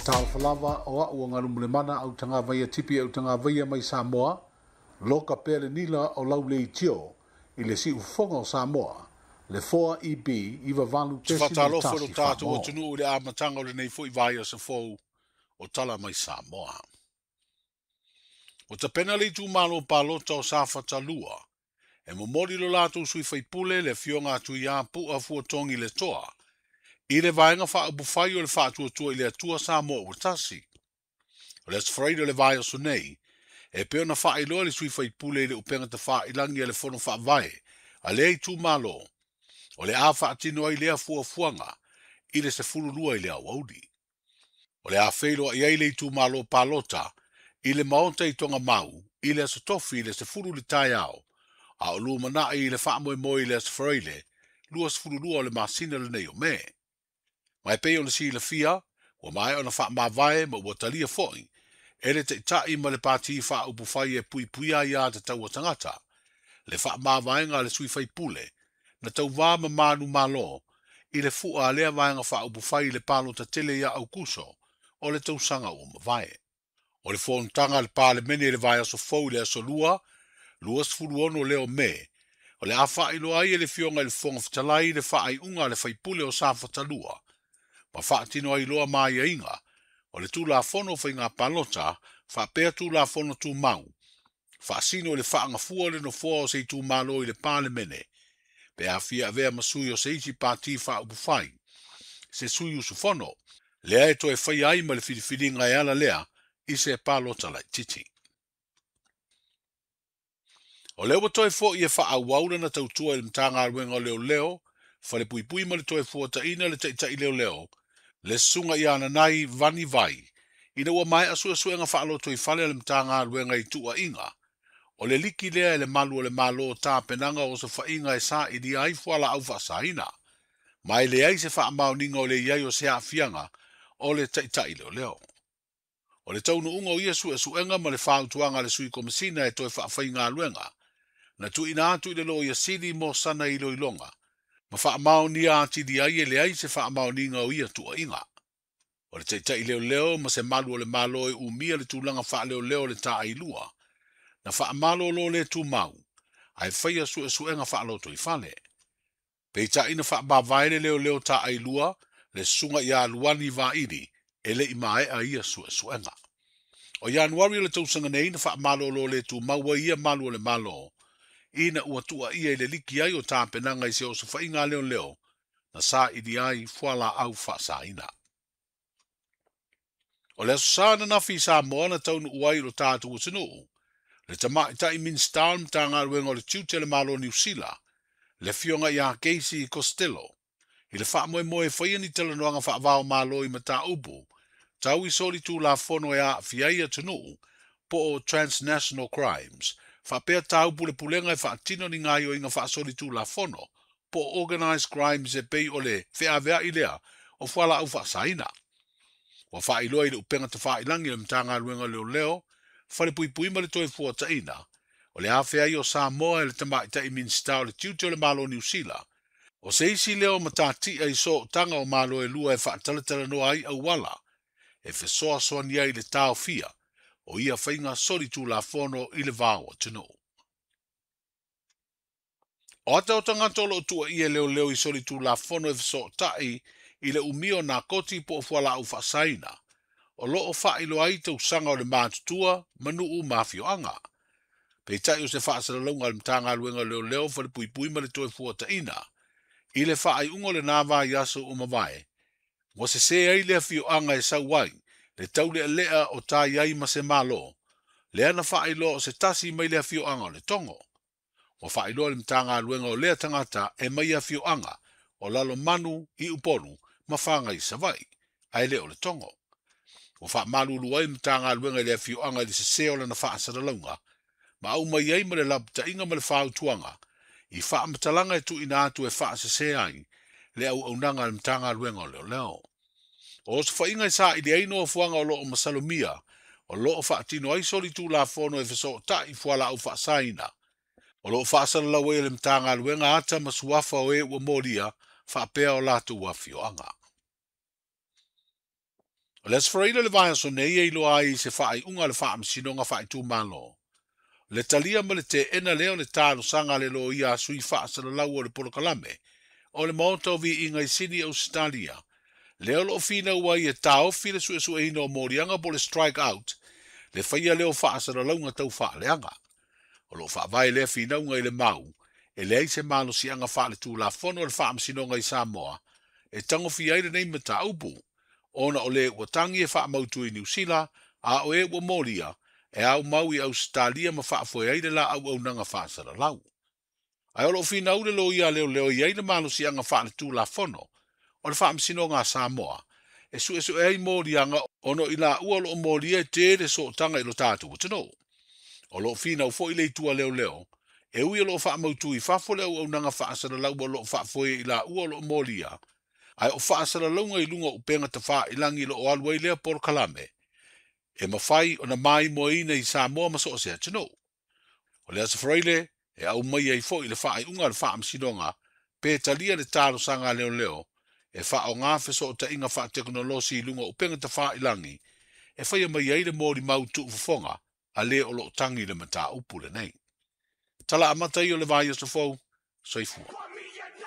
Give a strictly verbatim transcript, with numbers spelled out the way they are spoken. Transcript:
Talofa o au ngalu au tanga tipi au tanga vaia mai Samoa, loka pele nila o lau le itio, i le si ufonga o Samoa, le four E B iwa valu tesi le tasi tātou atunuu i le amataga o lenei foi vaiaso fou o Tala Mai Samoa. O tapena le itumalo palota o Safata lua, e momoli lo latou sui faipule le afioga atu ia Pu'a Fuatogi le Toa, i le vaega faaupufai o le faatuatua i le Atua Samoa ua tasi. O le Aso Faraile o le vaiaso nei, e pei ona faailoa le sui faipule i le upega tafailagi a le fono faavae a lea itumalo, o le a faatino ai lea fuafuaga i le sefulu lua i le aoauli. O le a feiloai ai le itumalo palota i le maota i Togamau i le aso tofi i le sefulu le taeao, a o lumanai i le faamoemoe i le Aso Faraile, luasefulu lua o le masina lenei o Me. Mai pei ona silafia, ua maea ona faamavae ma ua talia foi e le taitai ma le pati faaupufai e puipuia ia tatau a tagata, le faamavaega a le sui faipule, na tauvā ma manu malo i le fua a lea vaega faaupufai i le palota tele ia Aukuso o le tausaga ua mavae. O le fonotaga a le Palemene i le vaiaso fou i le aso lua, luasefulu ono lea o Me, o le a faailoa ai e le afioga i le Fofoga Fetalai le faaiuga a le faipule o Safata lua, ma faatino ai loa maiaiga o le Tulafono o Faiga Palota faapea Tulafono Tumau, faasino i le faagafua o le nofoa o se itumalo i le Palemene, pe afia avea ma sui o se isi pati faaupufai, se sui usufono, lea e toe faia ai ma le filifiliga e ala lea i se palota laitiiti. O lea ua toe fo'i e faaauau lana tautua i le Matagaluega o Leoleo, Falepuipui ma le toe fuataina le taitai leoleo, le susuga ia Nanai Vani Vai, ina ua maea suesuega faalotoifale a le Matagaluega i tuuaiga, o le liki lea e le malu o le malo tapenaga o osofaiga e sailia ai fualaau faasaina, ma e leai se faamaoniga o le iai o se aafiaga o le taitai leoleo. O le taunuuga o ia suesuega ma le fautuaga a le sui komisina e toe faafaigaluega, na tuuina atu i le loia sili mo sana iloiloga, ma faamaonia atili ai e leai se faamaoniga o ia tuuaiga. O le taitai leoleo ma se malu o le malo e umia le tulaga faaleoleo o le taailua, na faamalolo le tumau, ae faia suesuega faalotoifale. Peitai na faamavae le leoleo taailua, le susuga ia Luani Vaili, e le i maea ia suesuega. O Ianuari o le tausaga nei na faamalolo le tumau ai ia malu o le malo, ina ua tuuaia i le liki ai o tapenaga i se osofaiga leoleo, na saili ai fualaau faasaina. O le aso Sa ananafi i Samoa na taunuu ai i lo tatou atunuu, le tamaitai Minisita o le Matagaluega o le Tiute le Malo Niu Sila, le afioga ia Casey Costello, i le faamoemoe e faia ni talanoaga faavao malo i mataupu, tau i soli tulafono e aafia ai atunuu, po o transnational crimes, faapea taupulepulega e faatino ni gaoioiga faasoli tulafono, po o organized crimes e pei o le feaveai lea o fualaau faasaina. Ua faailoa i le upega tafailagi o le Matagaluega o Leoleo, Falepuipui ma le toe fuataina, o le afea ai o Samoa e le tamaitai Minisita o le Tiute o le Malo Niu Sila, o se isi lea o matatia i sootaga o malo e lua e faatalatalanoa ai auala, e fesoasoani ai le taofia o ia faiga soli tulafono i le vao atunuu. O ata o tagata o loo tuuaia e leoleo i soli tulafono e fesootai i le umia o nakoti po o fualaau faasaina, o loo faailoa ai tausaga o le matutua ma nuu ma afioaga. Peitai o se faasalalauga a le Matagaluega o Leoleo Falepuipui ma le toe fuataina, i le faaiuga o lena vaiaso ua mavae, ua sese ai le afioaga e sau ai, le taulealea o tai ai ma se malo, lea na faailoa o se tasi mai le afioaga o le Togo. Ua faailoa le Matagaluega o lea tagata e mai afioaga o Lalomanu i Upolu ma Faga i Savaii, ae le o le Togo. Ua faamalulu ai le Matagaluega i le afioaga i le sese o lana faasalalauga, ma aumai ai ma le lapataiga ma le fautuaga, i faamatalaga e tuuina atu e faasese ai le auaunaga a le Matagaluega o Leoleo. O osofaiga e saili ai nofoaga o loo masalomia, o loo faatino ai soli tulafono e fesootai fualaau faasaina. O loo faasalalau ai e le Matagaluega ata ma suafa o e ua molia faapea o latou afioaga. O le Aso Faraile o le vaiaso nei e iloa ai se faaiuga a le Faamasinoga Faaitumalo. Le talia ma le teena lea o le talosaga a le loia a sui faasalalau o le polokalame o le Maota o Viiga i Sini Ausetalia, lea o loo finau ai e taofi le suesueina o moliaga po o le strike out, le faia lea o faasalalauga tau faaleaga. O loo faavae lea finauga i le mau e leai se malosiaga faaletulafono o le Faamasinoga i Samoa e tagofia ai lenei mataupu, ona o le ua tagi e faamautu i Niu Sila a o e ua molia e aumau i Ausetalia ma faafoe ai le la auaunaga faasalalau. Ae o loo finau le loia leoleo i ai le malosiaga faaletulafono o le Faamasinoga a Samoa e suesue ai moliaga ona i laua o loo molia e tele sootaga i lo tatou atunuu. O loo finau foi le itu a leoleo e ui o loo faamautu i fafo le auaunaga faasalalau o loo faafoe i laua o loo molia, ae o faasalalauga i luga o upega tafailagi lo o alu ai lea polokalame e mafai ona maimoaina i Samoa ma so o se atunuu. O le Aso Faraile e aumai ai foi le faaiuga a le Faamasinoga pe talia le talosaga a leoleo e faaaoga fesootaiga faatekonolosi i luga o upega tafailagi e faia mai ai le molimau tuufofoga a le o loo tagi le mataupu lenei. Tala amata ia o le vaiaso fou, soifua.